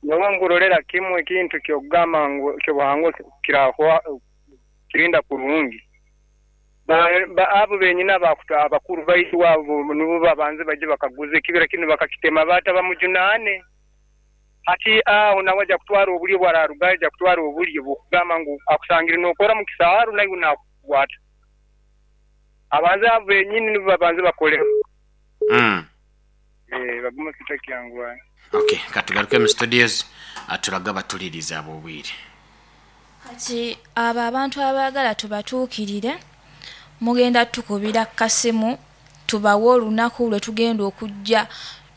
Nyowe nkurolera kimu ekintu ky'okugamba ngu ekyobuhangwa kirahwa kirinda kurungi. Abo benyini abakuru baitu abo nubo babanze baije bakaguze ekibira kinu bakakitema bata bamujunaane. Hati aho nawe aja kutwara obulyo obwararugayo aja kutwara obulyo bw'okugamba ngu akusangire nokora mu kisaaru naiwe nakukwata. Abanze abo benyini nibo babanze bakoleho. Bagume kitakyanguha. Okay, katugaruke mu studios turage abatulirize ab'obwire. Kati abo abantu abaagala tubatuukirire, mugenda tukubira kasimu tubawe olunaku lwe tugenda okujja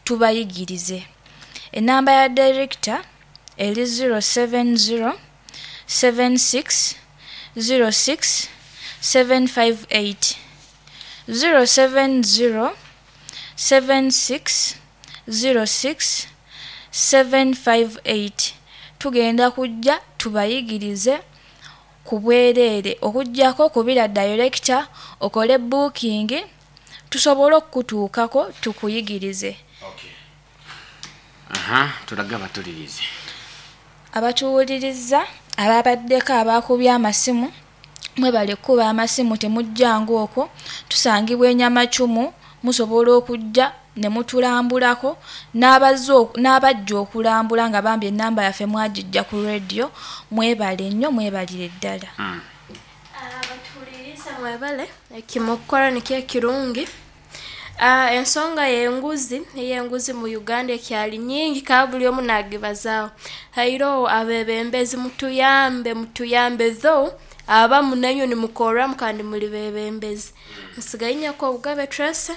tubayigirize. Enamba ya director eri 070 76 06 758, 070 76 06 758. Tugenda kujja tubayigirize ku bwereere, okuggyako kubira director okole booking tusobole okukutuukako tukuyigirize. Okay. Aha, turage abatulirize. Abatuwuliriza ababaddeko abakubye amasimu, mwebale kukuba amasimu, temujjanga okwo. Tusangibwa enyamacumu, musobola okujja ne mutulambulako, n'abajja okulambula nga bambi enamba yaffe mwagijja ku radio. Mwebale nnyo, mwebalire ddala. Abatuhuliriza mwebale ekimukukora nikyo ekirungi. Ensonga y'enguzi, ey'enguzi mu Uganda ekyali nyingi ka buli omu nagibazaaho. Hairoho abebembezi, mutuyambe, mutuyambe, though abamu nainywe nimukorramu kandi muli bebembezi. Nsigaye nyako Obugabe Tracy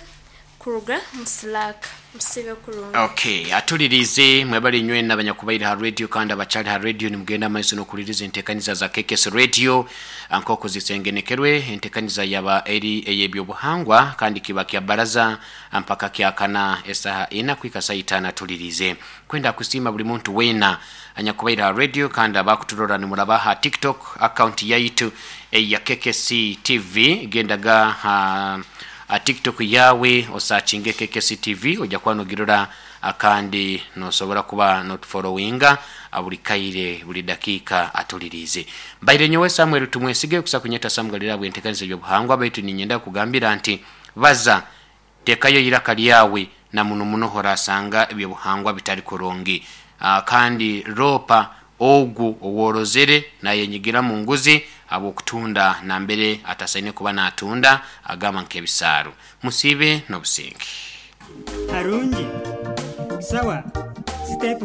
kuruga mu Slack. Musibe kurungi. Okay, atulirize mwebale inywena abanyakubaire ha radio kandi abakyali ha radio nimugenda amaiso n'okuliriza entekaniza za KKS Radio nk'oku zisengenekerwe. Entekaniza yaba eri ey'ebyobuhangwa kandi kiba kya baraza mpaka kyakana esaha ina kuhika saa itaano. Atulirize kwenda kusiima buli muntu weena anyakubaire ha radio kandi abakuturora nimuraba ha TikTok account yaitu eya KKC TV. Gendaga ha TikTok yawe osakinge KKC TV, ojja kuba nogirora kandi nosobora kuba notufollowinga buli kaire buli dakiika. Atulirize mbaire nyowe Samuel Tumwesige kusa kunyeta Sam Galira bwentekanisa ebyobuhangwa, baitu ninyenda kugambira nti baza tekayo iraka lyawe na muno muno horasanga ebyobuhangwa bitali kurungi, kandi ropa ogu oworozere nayenyigira mu nguzi habwokutunda nambere atasaine kuba natunda, agamba nk'ebisaaru. Musiibe n'obusinge. Harungi. Sawa. Sitepu.